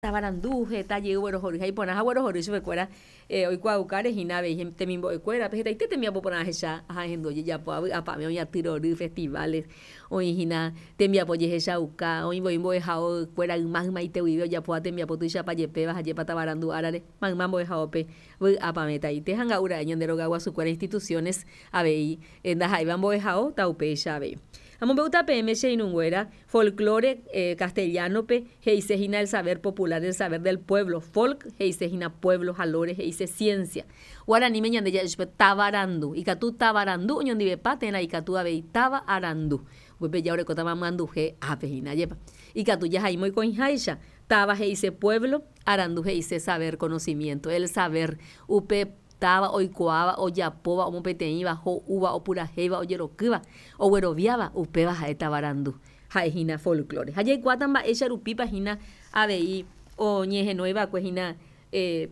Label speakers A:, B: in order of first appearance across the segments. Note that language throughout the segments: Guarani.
A: Tavarandu heta jey oguerohory ha iporã ha oguerohory chupekuéra oikuaaukáre hína avei temimbo'ekuérape hetaite tembiapo porã ahecha ha ahendu ojejapo avy'apavẽ oĩ atyrory, festivales, oĩ hína tembiapo jehechauka, oĩ voi mbo'ehaokuéra yma ymaite guive ojapóva tembiapo tuichapa jepéva ha jepa tavarandu árare mayma mbo'ehaópe vy'apavẽtaite ha nga'u ra'e ñande rogaguasukuéra instituciones avei ndaha'éiva mbo'ehao taupéicha avei. Amombe'úta peẽme che irũnguéra Folklore castellano-pe he'ise hína el saber popular, el saber del pueblo. Folk he'ise hína pueblo ha lore he'ise ciencia. Guaraníme ñande ja'e chupe tavarandu. Ikatu tavarandu oñondivepa térã ikatu avei táva arandu. Upépe ja orekótama myanduhe ápe hína, ajépa. Ikatu jahai moikõiháicha, táva he'ise pueblo, arandu he'ise saber, conocimiento, el saber. Upe Táva oikuaáva, ojapóva, omopeteĩva, ho'úva, opurahéiva, ojerokýva, ogueroviáva, upéva ha'e tavarandu, ha'e hína folklore. Ha jaikuaáta mba'éicha rupípa hína avei oñehenói va'ekue hína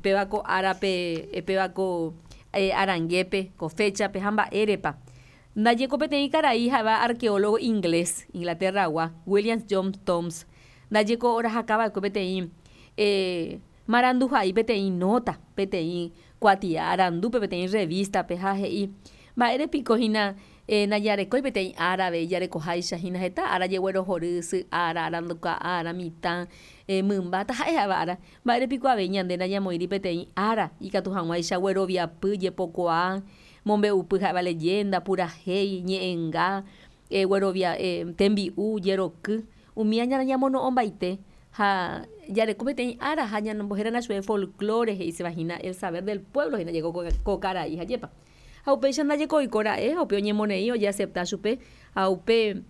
A: péva ko árape, péva ko arangépe, ko féchape ha mba'érepa. Ndajeko peteĩ karai ha'éva arqueólogo inglés, Inglaterra-gua, William John Thoms, ndajeko orahaka va'ekue peteĩ Maranduhai peteĩ nóta, peteĩ kuatia arandúpe, peteĩ rrevístape ha he'i, Mba'ére piko hína ndajarekói peteĩ ára avei jarekoháicha hína heta ára jeguerohory, sy ára, aranduka ára, mitã, mymba, taha'e ha'éva ára. Mba'ére piko avei ñande ndañamoĩri peteĩ ára ikatu hag̃uáicha gueroviapy, jepokuaa, mombe'upy ha'éva leyenda, purahéi, ñe'ẽnga, guerovia, tembi'u, jeroky, umíva ñamono'õmbaite Ha jareko peteĩ ára ha ñanombohérana chupe folklore he'iséva hína el saber del pueblo hína jeko ko karai ha jepa. Ha upéicha ndajeko oiko ra'e ha upe oñemoneĩ ojeacepta chupe ha upe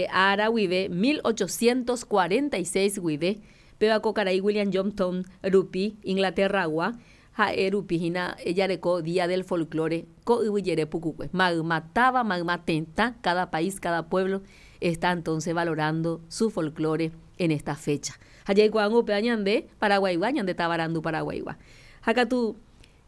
A: ára guive 1846 guive péva ko karai William Johnston rupi Inglaterra-gua ha'e rupi hína jareko Día del Folklore ko yvy jere pukukue. Mayma táva, mayma tetã, cada país, cada pueblo está entonces valorando su folklore en esta fecha. Ha jaikuaángo upéva ñande Paraguaigua, ñande tavarandu Paraguaigua. Ha katu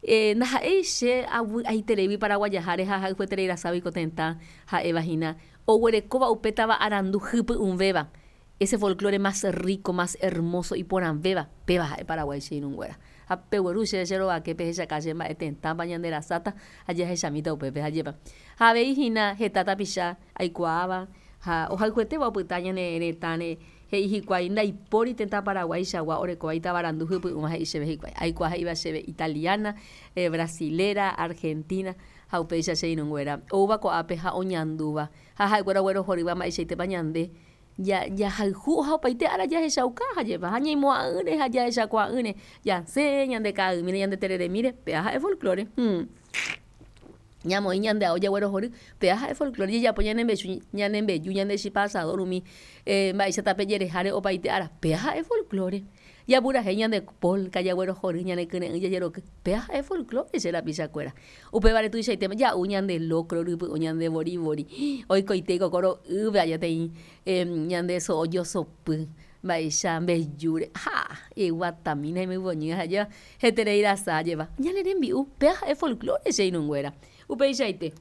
A: ndaha'éi che avy'aitereígui paraguajaháre ha ahayhueterei raságui ko tetã ha'éva hína oguerekóva upe tava arandu hypy'ũvéva, ese folklore más rico, más hermoso, iporãvéva, péva ha'e Paraguái che irũnguéra. Ha pegueru chéve che rovake pehechaka che mba'e tetãpa ñande rasáta ha jahechamíta upépe ha jepa. Ha avei hína heta tapicha aikuaáva ha ohayhuetéva opyta ñane retãre he'i hikuái ndaipóri tetã Paraguaichagua orekóva itavarandu hypy'ũva he'i chéve hikuái. Aikuaa he'íva chéve italiana, brasilera, argentina ha upéicha che irũnguéra oúva ko'ápe ha oñandúva ha ha'ekuéra oguerohorýva mba'eichaitépa ñande Jahayhu ha opaite ára jahechauka ha jepa ha ñaimo'ã'ỹre ha jahechakuaa'ỹre jasẽ ñande ka'aymíre ñande tereremíre péva ha'e folklore. Ñamoĩ ñande ao jaguerohory péva ha'e folklore jajapo ñane mbeju ñane mbeju ñande chipa asador umi mba'éicha tape jereháre opaite ára péva ha'e folklore. Japurahéi ñande polka, jaguerohory ñane kyre'ỹ jajeroky, péva ha'e folklore che rapichakuéra. Upévare tuichaitéma ja'u ñande locro rypy'ũ, ñande vori vori, oikoite ikoko ro'ýpe ajateĩ ñande so'o josopy, mba'éicha mbejúre, ha iguatamína imyvoñy ha jeva heterei rasa jeva. Ñane rembi'u, péva ha'e folklore che irũnguéra. Upeichaite.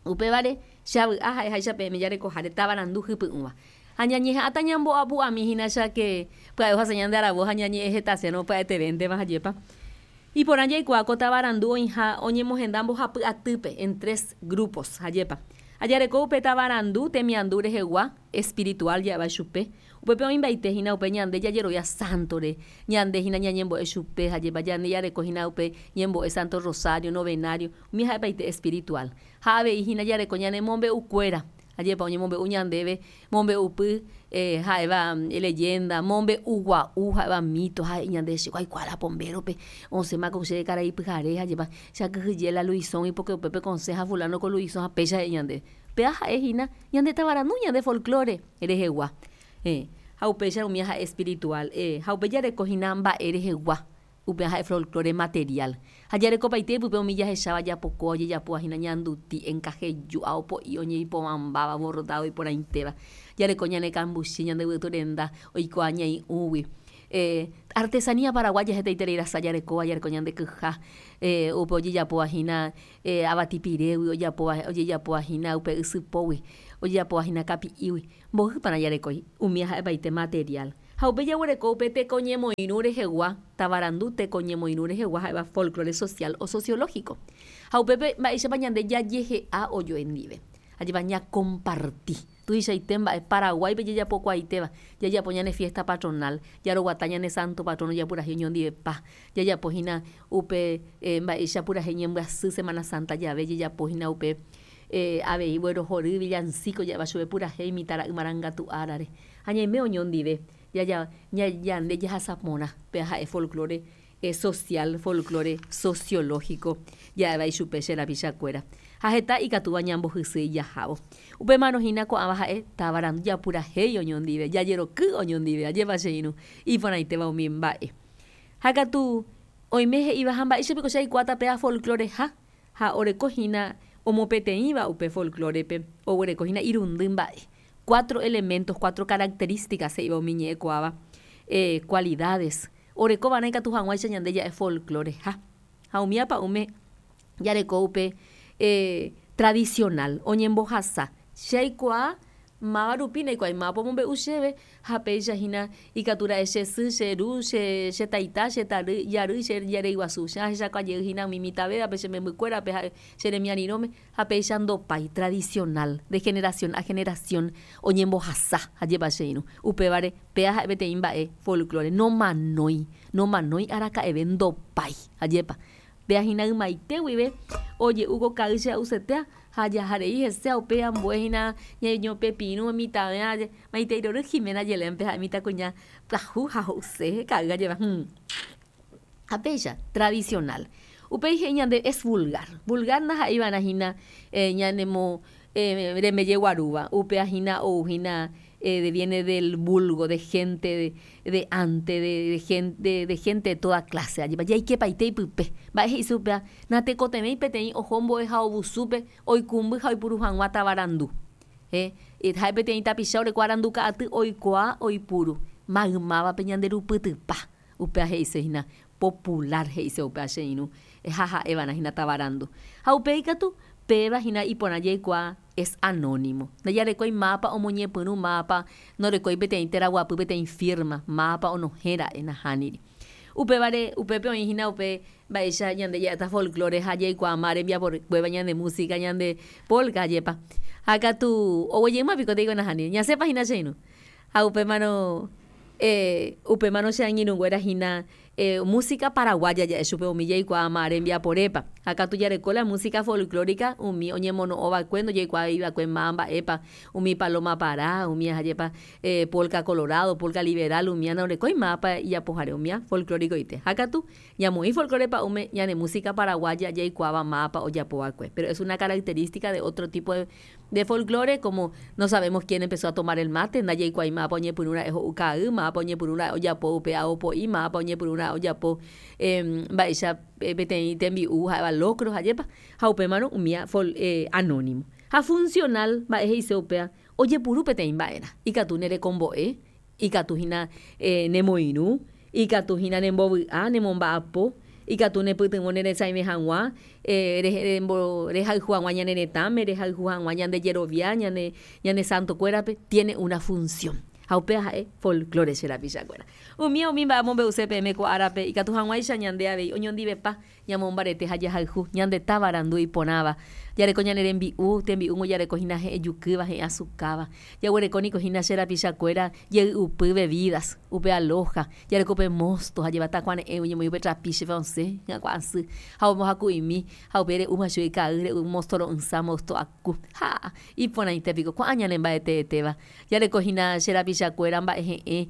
A: Upévare, che avy'a ha'eháicha peẽme jarekoháre tavarandu hypy'ũva. Ha ñañeha'ãta ñambo'apu'ami hína cháke pya'e ohasa ñande aravo ha ñañe'ẽ hetasérõ pya'etevéntema ha jepa. Iporã jaikuaa ko tavarandu oĩha oñemohenda mbohapy atýpe, en tres grupos, ha jepa. Ha jareko upe tavarandu temiandu rehegua, espiritual ja'éva chupe, Upépe oĩmbaite hína upe ñande jajerovia sántore, ñande hína ñañembo'e chupe ha jepa ñande jareko hína upe ñembo'e Santo Rosario, novenario, umi ha'epaite espiritual. Ha avei hína jareko ñane mombe'ukuéra, ajépa oñemombe'u ñandéve mombe'upy ha'éva leyenda, mombe'u gua'u ha'éva mito, ha he'i ñande che aikuaa la Pombérope, osẽma ko che karai pyhare ha jepa che akyhyje la Luisõgui porque upépe kosẽ ha fulano ko Luisõ ha péicha he'i ñandéve. Péva ha'e hína ñande tavarandu, ñande folklore. Rehegua. Héẽ. Ha upéicha umi ha'e espiritual. Héẽ. Ha upe jareko hína mba'e rehegua. Upéva ha'e folklore material. Ha jarekopaite ipype umi jahecháva japokóva ojejapóva hína ñanduti, enkaheju, ao po'i oñeipovãmbáva, bordado iporãitéva. Jareko ñane kambuchi, ñande yvytu renda oikuaa ñai'ũgui. Héẽ. Artesanía paraguaya hetaiterei rasa jarekóva, jareko ñande kyha, héẽ, upe ojejapóva hína avati pirégui ojapóva, ojejapóva hína upe ysypógui. Ojejapóva hína kapi'ígui, mboýpara jarekói, umi ha'epaite material. Ha upe jaguereko upe tekoñemoirũ rehegua, tavarandu tekoñemoirũ rehegua ha'éva folklore social o sociológico. Ha upépe mba'éichapa ñande jajehe'a ojoendive. Ajépa ñakomparti. Tuichaite mba'e Paraguáipe jajapokuaaitéva, jajapo ñane fiesta patronal, jaroguata ñane santo patrono japurahéi oñondivepa, jajapo hína upe mba'éicha purahéi ñembyasy Semana Santa jave, jajapo hína upe avei guerohory villancico ja'éva chupe purahéi mitãra'y marangatu árare. Ha ñaime oñondive jaja ñande jahasa porã pe ha'e folklore social, folklore sociológico ja'éva ichupe che rapichakuéra. Ha heta ikatúva ñambohysýi jahávo. Upémarõ hína ko'ãva ha'e tavarandu japurahéi oñondive, jajeroky oñondive, ajépa che irũ, iporãitéva umi mba'e. Ha katu oime he'íva ha mba'éicha piko che aikuaáta péva folkloreha ha oreko hína omopeteĩva upe folklorepe, oguereko hína irundy mba'e. Cuatro elementos, cuatro características he'íva umi ñe'ẽkuaáva, cualidades, oreko va'erã ikatu hag̃uáicha ñande ja'e folkloreha. Ha umi apa'ũme jareko upe tradicional, oñembohasa. Che aikuaa máva rupi ndaikuaái mávapa omombe'u chéve ha péicha hína ikatu ra'e che sy, che ru, che che taita, che tary, jarýi, che jarýi guasu. Che ahechakuaa jey hína umi mitãvévape, che membykuérape ha che remiarirõme ha péicha ndopái, tradicional, de generación a generación oñembohasa, ajépa che irũ. Upévare péa ha'e peteĩ mba'e folklore, nomanói, nomanói araka'eve ndopái, ajépa. Péa hína ymaite guive oje'u ko ka'y che a'usetéa ha jaharei hese ha upéi ambue hína ñañopepirũ mitãve maitei rory Jimena Yelén-pe ha'e mitãkuña pyahu ha ho'use ka'y ajépa. Ha péicha, tradicional. Upéi he'i ñande es vulgar. Vulgar ndaha'éi va'erã hína ñanemo rembejeguarúva, upéva hína ou hína viene del vulgo, de gente de ante, de gente, de gente de toda clase, ajépa jaikepaite ipype. Mba'e he'ise upéva? Natekotevẽi peteĩ oho mbo'ehaovusúpe oikũmby ha oipuru hag̃ua tavarandu. Ha'e peteĩ tapicha oreko arandu ka'aty oikuaa oipuru maymávape ñanderupytypa. Upéva he'ise hína popular he'ise upéva che irũ ha ha'e va'erã hína tavarandu. Ha upéi katu péva hína iporã jaikuaa es anónimo. Ndajarekói mávapa omoñepyrũ, mávapa norekói peteĩ teraguapy, peteĩ firma, mávapa onohẽ ra'e, nahániri. Upévare upépe oĩ hína upe mba'éicha ñande ja'éta folklore ha jaikuaa máva rembiapokuéva ñande música, ñande polka ajépa. Ha katu oguejýma piko teiko nahániri. Ñasẽpa hína che irũ. Ha upémarõ upémarõ che angirũnguéra hína música paraguaya ja'e chupe umi jaikuaáma rembiaporépa. Ha katu jareko la música folclórica umi oñemono'õ va'ekue ndojeikuaái va'ekue máva mba'épa, umi paloma para, umi ajépa polka colorado, polka liberal, umía ndorekói mávapa ijapohare umía folcloricoite. Ha katu ñamoĩ folclore pa'ũme ñane música paraguaya jaikuaáva mávapa ojapo va'ekue. Pero es una característica de otro tipo de De folklore, como no sabemos quién empezó a tomar el mate, ndajaikuaái mávapa oñepyrũ ra'e ho'u ka'ay, mávapa oñepyrũ ra'e ojapo upe ao po'i, mávapa oñepyrũ ra'e ojapo mba'éicha peteĩ tembi'u ha'éva locro, ajépa. Ha upémarõ umía anónimo. Ha funcional, mba'e he'ise upéva, ojepuru peteĩ mba'erã. Ikatu nerekombo'e, Ikatu hína nemoirũ, ikatu hína nembovy'a, nemomba'apo, ikatu nepytyvõ neresãive hag̃ua, rehayhu hag̃ua ñane retãme, rehayhu hag̃ua ñande jerovia, ñane santokuérape, tiene una función. Ha upéva ha'e folklore che rapichakuéra. Umíva umi mba'e amombe'use peẽme ko árape ikatu hag̃uáicha ñande avei oñondivepa Ñamombarete ha jahayhu ñande táva arandu iporãva. Jareko ñane rembi'u, tembi'úngo jareko hína he'ẽ jukýva, he'ẽ asukáva. Jaguereko niko hína che rapicha kuéra jey'upy, bebidas, upe aloja, jareko upe mosto ha jeva takuare'ẽ oñemoĩ upe trapiche-pe osẽ hyakuã asy ha ombohaku'imi ha upe re'úma chugui ka'ay re'u mosto ro'ysã, mosto aku. Ha! Iporãite piko ko'ã ñane mba'eteetéva. Jareko hína che rapicha kuéra mba'e he'ẽ,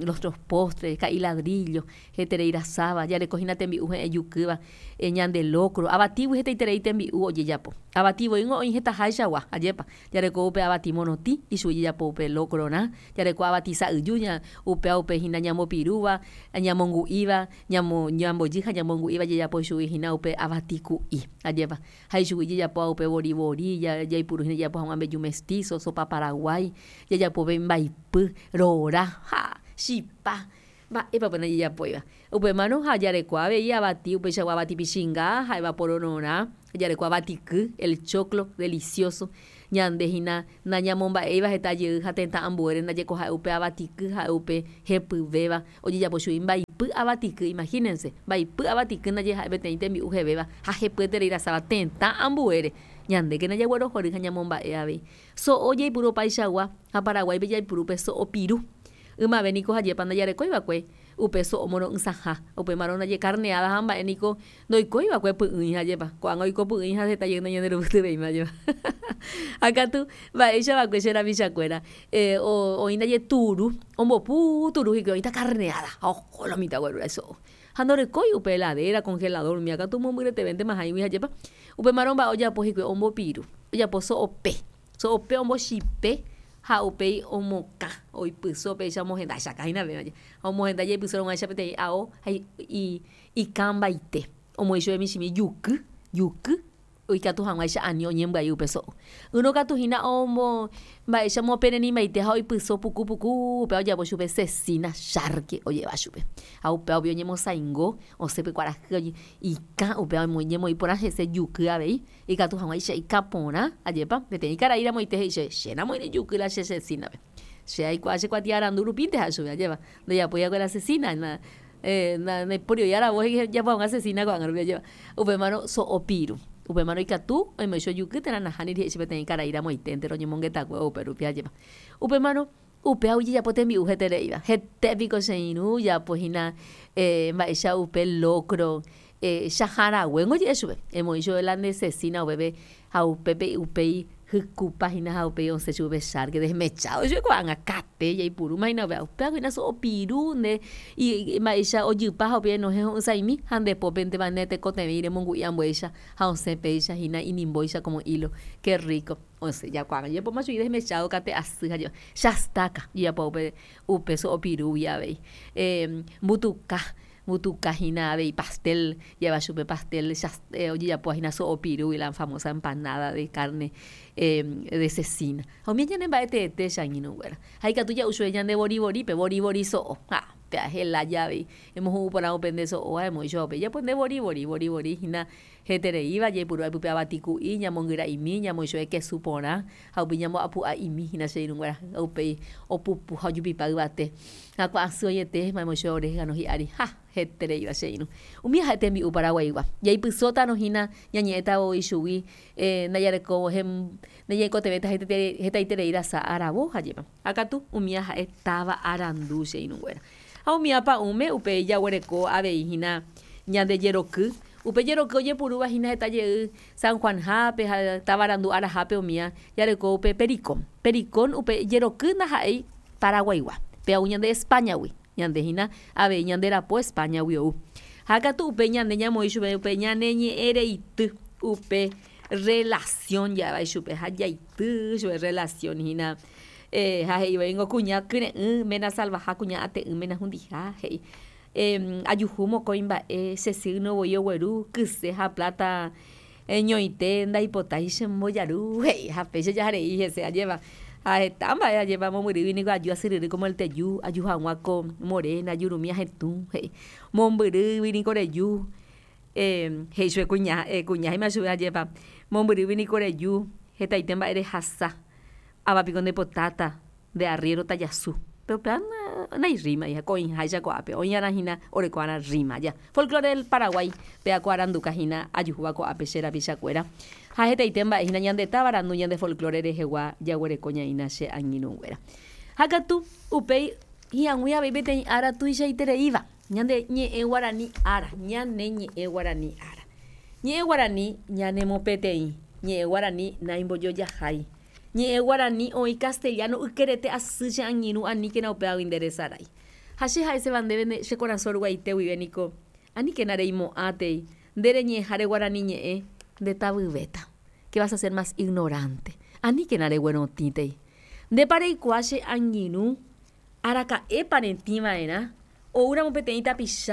A: los otros postres, ka'i ladrillo, Heterei rasáva, jareko hína tembi'u he'ẽ jukýva, ñande locro, avatígui hetaiterei tembi'u ojejapo. Avati voíngo oĩ hetaháichagua, ajépa, jareko upe avati morotĩ, ichugui jejapo upe locro-rã, jareko avati sa'yju, upéva upe hína ñambopirúva, ñamongu'íva, ñambojy ha ñamongu'íva jejapo ichugui hína upe avati ku'i, ajépa. Ha ichugui jejapóva upe vori vori, jaipuru hína jajapo hag̃ua mbeju mestizo, sopa paraguái, jajapove mbaipy, rora, ha, chipa. Mba'épa pe ndajejapóiva. Upémarõ ha jareko avei avati upeichagua avati pichinga ha'éva porororã, jareko avatiky, el choclo delicioso, ñande hína nañamomba'éiva heta jey ha tetã ambuére ndajeko ha'e upe avatiky ha'e upe hepyvéva ojejapo chugui mbaipy avatiky, imagínense, mbaipy avatiky ndaje ha'e peteĩ tembi'u hevéva ha hepyeterei rasáva tetã ambuére, ñandékena jaguerohory ha ñamomba'e avei. So'o jaipuru opaichagua ha Paraguáipe jaipuru pe so'o piru. Ymave niko hajépa ndajarekói va'ekue upe so'o moro'ysãha, upémarõ ndaje carneada ha mba'e niko ndoikói va'ekue py'ỹi hajépa, ko'ág̃a oiko py'ỹi ha heta jey ndañanderupytyvéima ajépa. Ha katu mba'éicha va'ekue che rapichakuéra, oĩ ndaje turu, ombopu turu hikuái oĩta carneada ha oho lo mitã oguerúva iso'o. Ha ndorekói upe heladera, congelador, umíva katu mombyretevéntema hãigui hajépa, upémarõ mba'e ojapo hikuái ombopiru, ojapo so'ope. So'ope ombochipe ha upéi omokã, oipyso péicha omohenda chaka hína péva je. Ha omohenda jaipyso rõguáicha peteĩ ao ha ikãmbaite. Omoĩ chupe michĩmi juky, juky, oikatu hag̃uáicha ani oñembyai upe so'o. Ỹrõ katu hína ombo mba'éicha omoperenimbaite ha oipyso puku puku upéva ojapo chupe cecina charque ojeva chupe. Ha upéva upéi oñemosaingo osẽ pe kuarahy ikã upéva oñemoĩ porã hese juky avei. Ikatu hag̃uáicha ikã porã, ajépa, peteĩ karai ramoite he'i chéve, Che namoĩri juky la che cecina-pe. Che aikuaa che kuatia arandu rupínte ha'e chupe, ajépa, ndojapói va'ekue la cecina, ndaipóri oĩ aravo ojapo hag̃ua cecina ko'ág̃a rupi, ajépa. Upémarõ so'o piru. Upémarõ ikatu oimoĩ che ojuky térã nahániri he'i che peteĩ karai ramoiténte roñemongetakue upe rupi, ajépa. Upémarõ upéva ojejapo tembi'u hetereíva. Hete piko che irũ ojapo hína mba'éicha upe locro Chahã raguéngo oje'e chupe, emoĩ chupe la nde cecina upépe ha upépe upéi hykupa hína ha upéi osẽ chupe pe charque desmechado chupe ko'ág̃a kate jaipurúma hína upéva, upévako hína so'o piru nde mba'éicha ojypa ha upéi enohẽ ho'ysãimi ha nde pópentema ne tekotevẽ remongu'i ambuéicha ha osẽ péicha hína inimbóicha como hilo, que rico osẽ ja ko'ág̃a jajapóma chugui desmechado kate asy ha chastaka jajapo upe so'o pirúgui avei mbutuka Mbutuka hína avei pastel, ja'éva chupe pastel ojejapóva hína so'o pirúgui, la famosa empanada de carne de cecina. Ha umi ñane mba'e teete che angirũnguéra. Ha ikatu ja'u chupe ñande vori vorípe, vori vori so'o. Ha péa hela javei, emohu'ũ porã upe nde so'o ha emoĩ chupe upe japo nde vori vori, vori vori hína hetereíva, jaipuru pype avati ku'i, ñamongyra'imi, ñamoĩ chupe kesu porã ha upéi ñambo'apu'a'imi hína che irũnguéra. Ha upéi opupu ha ojupipa yvate. Ha ku'asy oĩete mba'e che orégano hi'ári. Ha! Hetereíva che irũ. Umi ha'e tembi'u Paraguaigua. Jaipysótarõ hína ñañe'ẽta voi chugui ndajarekóvo ndajaikotevẽta hetaiterei rasa aravo ha jepa. Ha katu umíva ha'e táva arandu che irũnguéra. Ha umíva pa'ũme upe jaguereko avei hína ñande jeroky. Upe jeroky ojepurúva hína heta jey San Juan-hápe ha táva arandu arahápe umíva jareko upe pericón. Pericón upe jeroky ndaha'éi Paraguaigua, pe ou ñande España-gui, ñande hína avei ñande rapo España-gui ou. Ha katu upe ñande ñamoĩ chupe upe ñane ñe'ẽ reity upe relación ja'éva ichupe ha jaity chupe relación hína ha he'i voíngo kuña kyre'ỹ ména salvaha, kuña ate'ỹ ména hundiha he'i. Ajuhu mokõi mba'e che signo voi ogueru kyse ha plata ñoite ndaipotái che mbojaru he'i ha péicha jaharei hese ajéva ha heta mba'e ajépa mombyrýgui niko aju asyryry como el teju aju hag̃ua ko morena jurumi ahetũ he'i mombyrýgui niko reju he'i chupe kuña kuña he'íma chupe ajépa mombyrýgui niko reju hetaite mba'e rehasa ava piko ndepotáta Nde arriéro tajasu. Péro upéva nairrímai ha ko oĩháicha ko'ápe, oĩ'arã hína oreko'arã rríma. Ja. Folklore del Paraguay, péva ko aranduka hína ajuhúva ko'ápe che rapichakuéra. Ha hetaite mba'e hína ñande táva arandu ñande folklore rehegua jaguereko ñaína che angirũnguéra. Ha katu upéi hi'ag̃ui avei peteĩ ára tuichaitereíva, ñande ñe'ẽ guarani ára, ñane ñe'ẽ guarani ára. Ñe'ẽ guarani ñanemopeteĩ, ñe'ẽ guarani naimbojojahái. Ñe'ẽ guarani oĩ castellano ykerete asy che angirũ aníkena upévagui nde resarái. Ha che ha'eséva ndéve nde che korasõ ruguaite guive niko, aníkena reimo'ãtei, nde reñe'ẽháre guarani ñe'ẽ nde tavyvéta. Que vas a ser más ignorante. Aníkena reguerotĩtei. Ndépa reikuaa che angirũ araka'épa retĩ va'erã oúramo peteĩ tapicha.